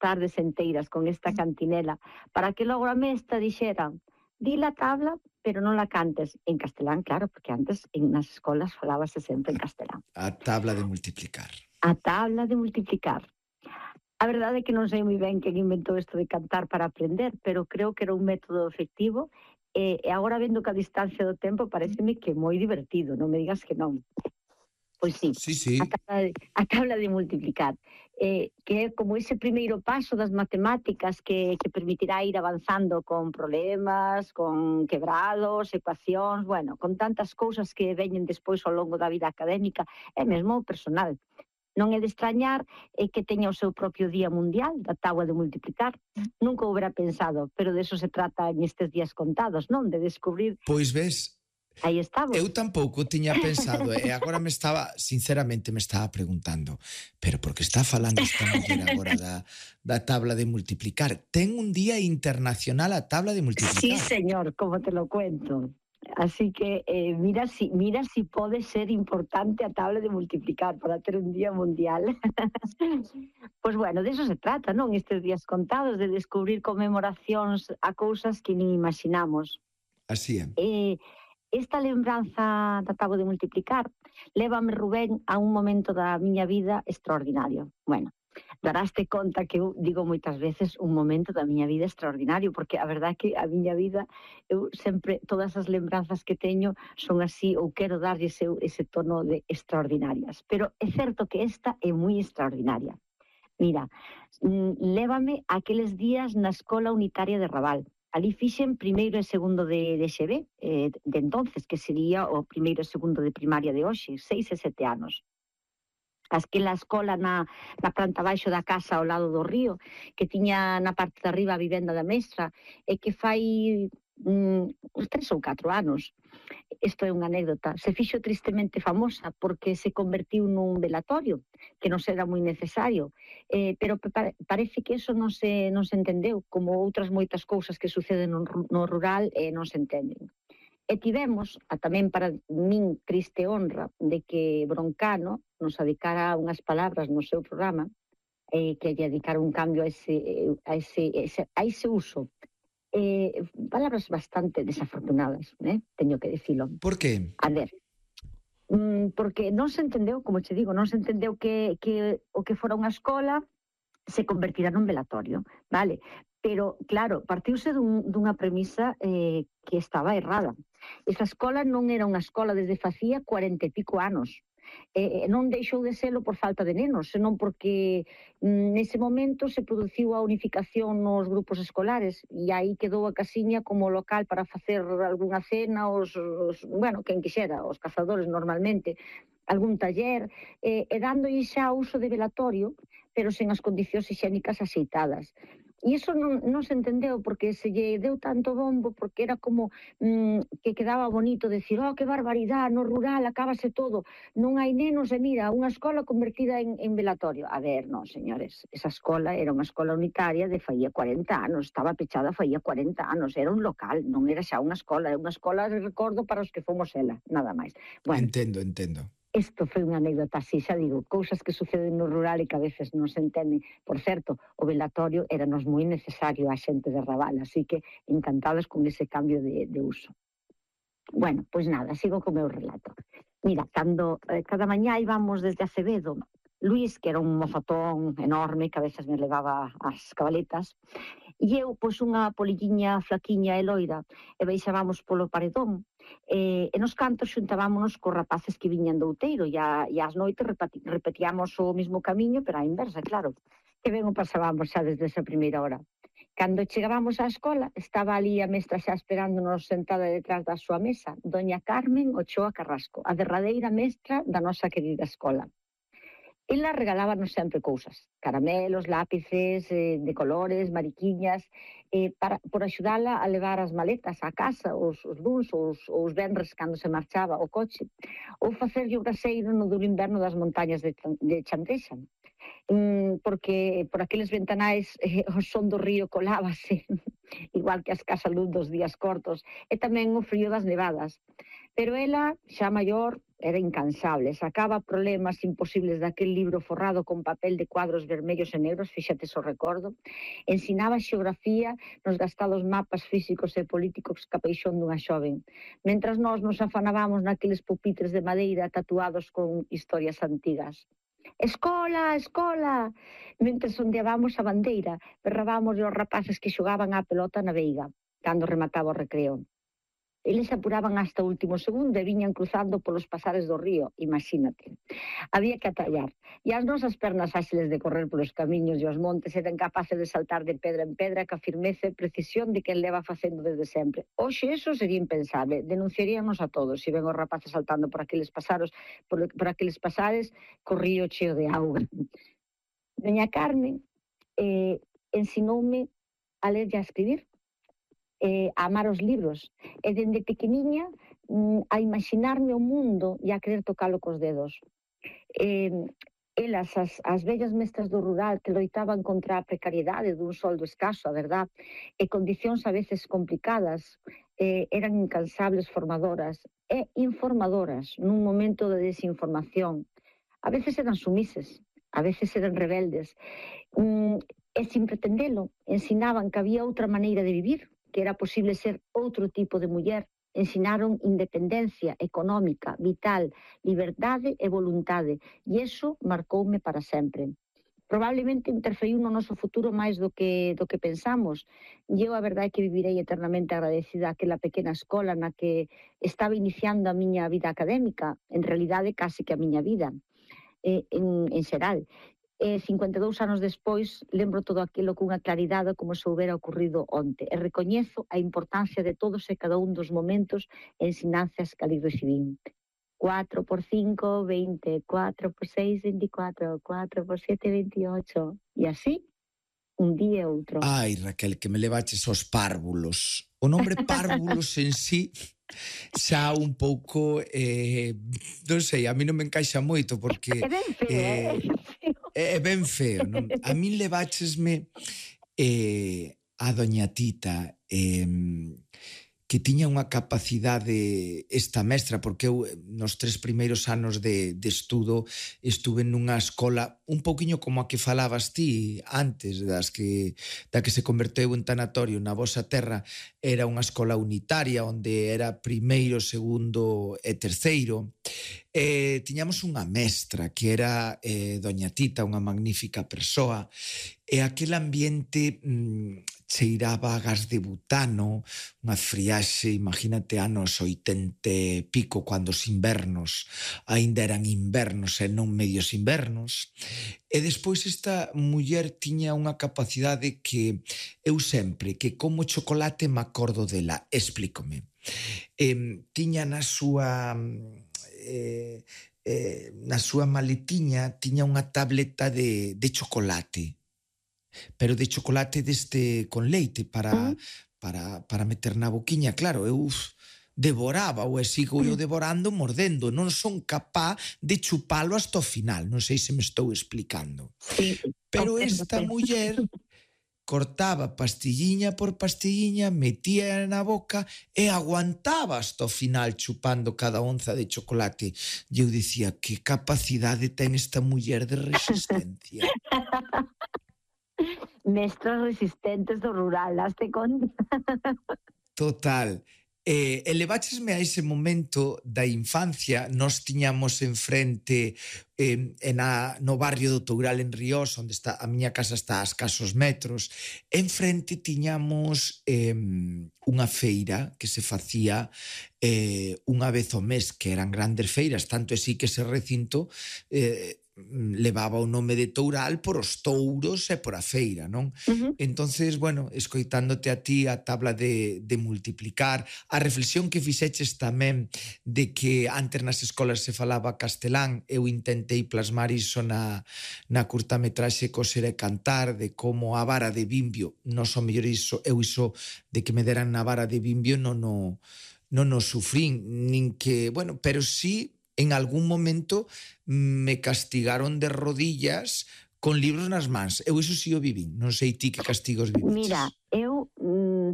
tardes enteiras con esta cantinela para que logo a mestra dixera di la tabla, pero non la cantes en castelán, claro, porque antes nas escolas falábase sempre en castelán. A tabla de multiplicar. A tabla de multiplicar. A verdade é que non sei moi ben quen inventou isto de cantar para aprender, pero creo que era un método efectivo e agora vendo que a distancia do tempo pareceme que é moi divertido, non me digas que non. Pois sí, Sí. a tabla de multiplicar, que é como ese primeiro paso das matemáticas que permitirá ir avanzando con problemas, con quebrados, ecuacións, bueno, con tantas cousas que veñen despois ao longo da vida académica e mesmo personal. Non é de extrañar que teña o seu propio Día Mundial da Táboa de multiplicar. Nunca o hubiera pensado, pero de eso se trata nestes días contados, non? De descubrir... Pois ves... Aí estamos. Eu tampouco tiña pensado e agora sinceramente me estaba preguntando, pero por que está falando esta muller agora da tabla de multiplicar? Ten un día internacional a tabla de multiplicar. Sí, señor, como te lo cuento. Así que mira si pode ser importante a tabla de multiplicar para ter un día mundial. Pois bueno, de eso se trata, non? Estes días contados, de descubrir conmemoracións a cousas que nin imaginamos. Así é. Esta lembranza da táboa de multiplicar lévame, Rubén, a un momento da miña vida extraordinario. Bueno, daraste conta que eu digo moitas veces un momento da miña vida extraordinario, porque a verdade é que a miña vida, eu sempre, todas as lembranzas que teño son así, ou quero darlle ese tono de extraordinarias. Pero é certo que esta é moi extraordinaria. Mira, lévame aqueles días na Escola Unitaria de Raval. Ali fixen primeiro e segundo de XB, de entonces, que sería o primeiro e segundo de primaria de hoxe, 6 e 7 anos. Aquela escola na planta baixo da casa ao lado do río, que tiña na parte de arriba a vivenda da mestra, e que fai uns 3 ou 4 anos. Isto é unha anécdota. Se fixo tristemente famosa porque se convertiu nun velatorio, que non era moi necesario, pero parece que eso non se entendeu, como outras moitas cousas que suceden no rural non se entenden. E tivemos, tamén para min triste honra, de que Broncano nos dedicara unhas palabras no seu programa, que lle dedicara un cambio a ese uso. Palabras bastante desafortunadas, teño que dicilo. Por que? A ver, porque non se entendeu, como che digo, non se entendeu que o que fora unha escola se convertira nun velatorio, vale? Pero, claro, partiuse dunha premisa que estaba errada. Esa escola non era unha escola desde facía 40 e pico anos. Non deixou de selo por falta de nenos, senón porque nese momento se produciu a unificación nos grupos escolares e aí quedou a casiña como local para facer algunha cena, bueno, quen quixera, os cazadores normalmente, algún taller, e dándolle xa uso de velatorio, pero sen as condicións higiénicas axeitadas. E iso non se entendeu porque se lle deu tanto bombo, porque era como que quedaba bonito decir, que barbaridade, no rural acábase todo, non hai nenos e mira, unha escola convertida en velatorio. A ver, non, señores, esa escola era unha escola unitaria de faía 40 anos, estaba pechada faía 40 anos, era un local, non era xa unha escola, era unha escola de recordo para os que fomos ela, nada máis. Bueno, entendo. Isto foi unha anécdota así, xa digo, cousas que suceden no rural e que a veces non se entenden. Por certo, o velatorio era nos moi necesario a xente de Raval, así que encantados con ese cambio de uso. Bueno, pois nada, sigo co meu relato. Mira, cando cada mañá íbamos desde Acevedo, Luís, que era un mozatón enorme, que a veces me levaba as cabaletas, e eu, pois, unha polilliña flaquiña e loira, e baixábamos polo paredón, e nos cantos xuntábamos cos rapaces que viñan do outeiro, e ás noites repetíamos o mesmo camiño, pero á inversa, claro, que ben o pasábamos xa desde esa primeira hora. Cando chegábamos á escola, estaba ali a mestra xa esperándonos sentada detrás da súa mesa, doña Carmen Ochoa Carrasco, a derradeira mestra da nosa querida escola. Ela regalábanos sempre cousas, caramelos, lápices de colores, mariquiñas, por axudala a levar as maletas á casa, os luns ou os venres cando se marchaba o coche, ou facerlle o braseiro no duro inverno das montañas de Chandrexa, porque por aqueles ventanais o son do río colábase, igual que as casas luz dos días cortos, e tamén o frío das nevadas. Pero ela, xa maior, era incansable. Sacaba problemas imposibles daquel libro forrado con papel de cuadros vermellos e negros, fíxate o recordo. Ensinaba xeografía nos gastados mapas físicos e políticos que apeixón dunha xoven. Mentras nós nos afanábamos naqueles pupitres de madeira tatuados con historias antigas. Escola, escola! Mentre sondeábamos a bandeira, berrábamos aos rapaces que xogaban á pelota na veiga, cando remataba o recreo. Eles apuraban hasta o último segundo e viñan cruzando polos pasares do río, imagínate. Había que atallar. E as nosas pernas áxiles de correr polos camiños e os montes eran capaces de saltar de pedra en pedra ca firmeza e precisión de que el leva facendo desde sempre. Oxe, eso sería impensable. Denunciaríamos a todos se ven os rapaces saltando por aqueles pasares co río cheo de auga. Doña Carmen ensinoume a ler e a escribir, a amar os libros, e dende pequeniña a imaginarme o mundo e a querer tocalo cos dedos. Elas, as vellas mestras do rural que loitaban contra a precariedade dun soldo escaso, a verdad, e condicións a veces complicadas, eran incansables formadoras e informadoras nun momento de desinformación. A veces eran sumises, a veces eran rebeldes, e sin pretendelo, ensinaban que había outra maneira de vivir, que era posible ser outro tipo de muller. Ensinaron independencia económica, vital, liberdade e voluntade. E iso marcoume para sempre. Probablemente interferiu no noso futuro máis do que pensamos. E eu a verdade é que vivirei eternamente agradecida àquela pequena escola na que estaba iniciando a miña vida académica, en realidade casi que a miña vida, en xeral. 52 anos despois, lembro todo aquilo cunha claridade como se houbera ocurrido onte, e recoñezo a importancia de todos e cada un dos momentos e ensinanzas que ali recibín. 4 por 5, 20, 4 por 6, 24, 4 por 7, 28, e así, un día e outro. Ai, Raquel, que me levaches aos párvulos. O nombre párvulos en sí xa un pouco, non sei, a mí non me encaixa moito porque É ben feo, é ben feo, non? A min leváchesme a doña Tita, que tiña unha capacidade esta mestra, porque eu nos 3 primeiros anos de estudo estuve nunha escola un pouquiño como a que falabas ti antes, da que se converteu en tanatorio na vosa terra. Era unha escola unitaria onde era primeiro, segundo e terceiro. Tiñamos unha mestra que era doña Tita, unha magnífica persoa, e aquel ambiente cheiraba a gas de butano, unha friaxe, imagínate, anos 80 e pico, cando os invernos aínda eran invernos e non medios invernos. E despois esta muller tiña unha capacidade que eu sempre, que como chocolate me acordo dela, explícome. Tiña na súa maletiña, tiña unha tableta de chocolate, pero de chocolate deste con leite para meter na boquiña. Claro, eu devoraba ou sigo eu devorando, mordendo. Non son capaz de chupalo hasta o final. Non sei se me estou explicando. Sí, pero esta muller cortaba pastilliña por pastilliña, metía na boca e aguantaba hasta o final chupando cada onza de chocolate. E eu dicía, que capacidade ten esta muller de resistencia. Mestras resistentes do rural, daste conta? Total. Leváchesme a ese momento da infancia. Nós tiñamos enfrente no barrio do Toural en Ríos, onde está a miña casa, está a escasos metros. Enfrente tiñamos unha feira que se facía unha vez ao mes, que eran grandes feiras, tanto así que ese recinto levaba o nome de Toural por os touros e por a feira, non? Entonces, bueno, escoitándote a ti a tabla de multiplicar, a reflexión que fixeches tamén de que antes nas escolas se falaba castelán, eu intentei plasmar iso na curtametraxe Coser e Cantar, de como a vara de Bimbio, non son mellor iso, eu iso de que me deran na vara de Bimbio non o sufrín, nin que, bueno, pero sí en algún momento me castigaron de rodillas con libros nas mans. Eu iso sí o vivín. Non sei ti que castigos viviches. Mira, eu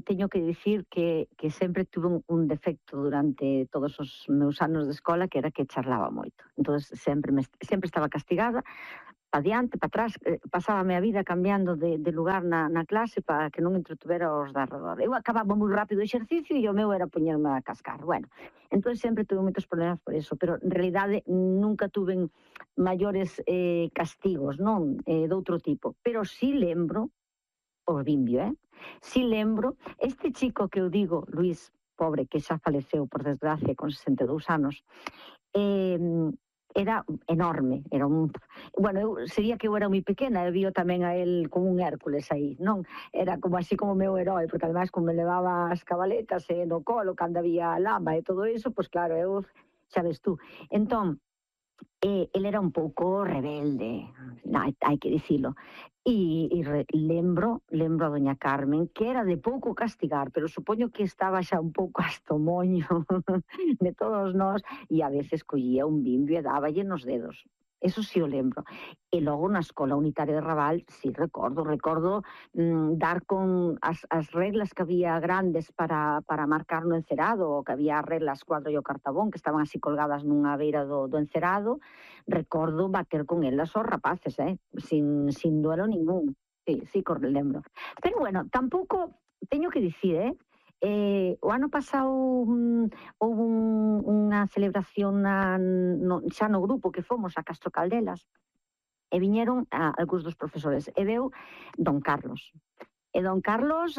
teño que dicir que sempre tuve un defecto durante todos os meus anos de escola, que era que charlaba moito. Entón, sempre estaba castigada, pa diante, pa atrás, pasábame a vida cambiando de lugar na clase para que non entretuvera os de arredor. Eu acababa moi rápido o exercicio e o meu era poñerme a cascar. Bueno, entón sempre tuve moitos problemas por eso, pero en realidade nunca tuve maiores castigos, non? De outro tipo. Pero sí lembro, os bimbio, sí lembro, este chico que eu digo, Luís, pobre, que xa faleceu, por desgracia, con 62 anos, eh, era enorme, era un... Bueno, sería que eu era moi pequena, e vio tamén a él como un Hércules aí, non? Era como así como meu herói, porque ademais como me levaba as cabaletas no colo, cando había lama e todo iso, pois claro, eu, xa ves tú. Entón, ele era un pouco rebelde, hai que dicilo. Lembro a doña Carmen, que era de pouco castigar, pero supoño que estaba xa un pouco hasta o moño de todos nós, e a veces collía un bimbio e dáballe nos dedos. Eso sí o lembro. E logo na escola unitaria de Raval, sí recordo dar con as reglas que había grandes para marcar no encerado, ou que había reglas cuadro e o cartabón, que estaban así colgadas nunha beira do encerado. Recordo bater con elas aos rapaces, sin duelo ningún. Sí, que lembro. Pero bueno, tampouco, teño que dicir, o ano pasado houve unha celebración xa no grupo que fomos a Castro Caldelas, e viñeron algúns dos profesores, e veu don Carlos. E don Carlos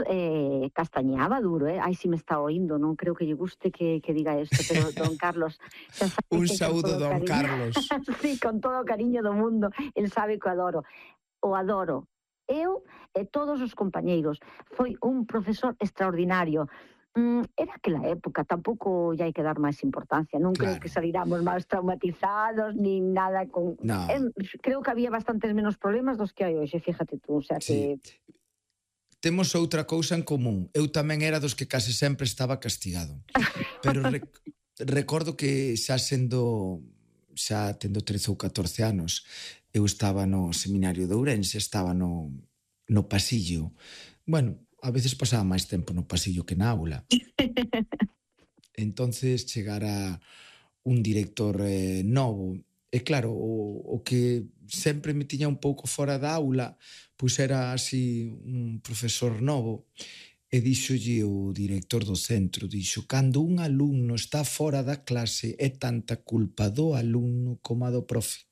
castañeaba duro, Ai, si me está oindo, non creo que lle guste que diga isto, pero don Carlos... Un saúdo, don Carlos. Sí, con todo o cariño do mundo, el sabe que o adoro. O adoro. Eu e todos os compañeiros. Foi un profesor extraordinario. Era aquela época, tampouco lle hai que dar máis importancia. Non creo que saliramos máis traumatizados, nin nada con... No. Creo que había bastantes menos problemas dos que hai hoxe, fíjate tú, o sea que... Temos outra cousa en común. Eu tamén era dos que case sempre estaba castigado. Pero recordo que xa tendo 13 ou 14 anos, eu estaba no seminario de Ourense, estaba no pasillo. Bueno, a veces pasaba máis tempo no pasillo que na aula. Entonces chegara un director novo, e claro, o que sempre me tiña un pouco fora da aula, pois era así un profesor novo, e díxolle o director do centro, dixo, cando un alumno está fora da clase é tanta culpa do alumno como a do profe.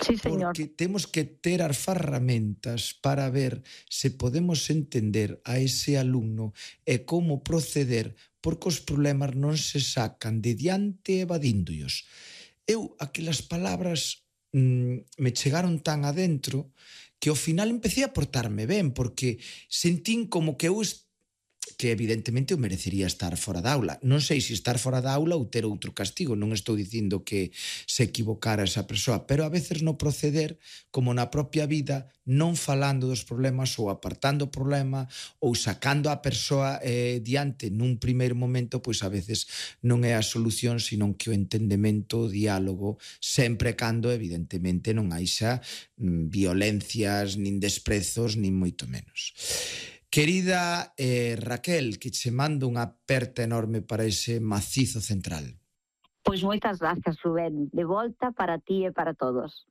Sí, señor. Porque temos que ter as ferramentas para ver se podemos entender a ese alumno e como proceder, porque os problemas non se sacan de diante evadíndoos. Eu, aquelas palabras me chegaron tan adentro que ao final empecé a portarme ben, porque sentín como que eu que evidentemente eu merecería estar fora da aula. Non sei se estar fora da aula ou ter outro castigo, non estou dicindo que se equivocara esa persoa, pero a veces no proceder, como na propia vida, non falando dos problemas ou apartando o problema ou sacando a persoa diante nun primeiro momento, pois a veces non é a solución, senón que o entendemento, o diálogo, sempre cando evidentemente non haixa violencias, nin desprezos, nin moito menos. Querida Raquel, que che mando unha aperta enorme para ese macizo central. Pois moitas grazas, Rubén. De volta para ti e para todos.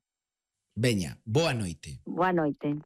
Veña, boa noite. Boa noite.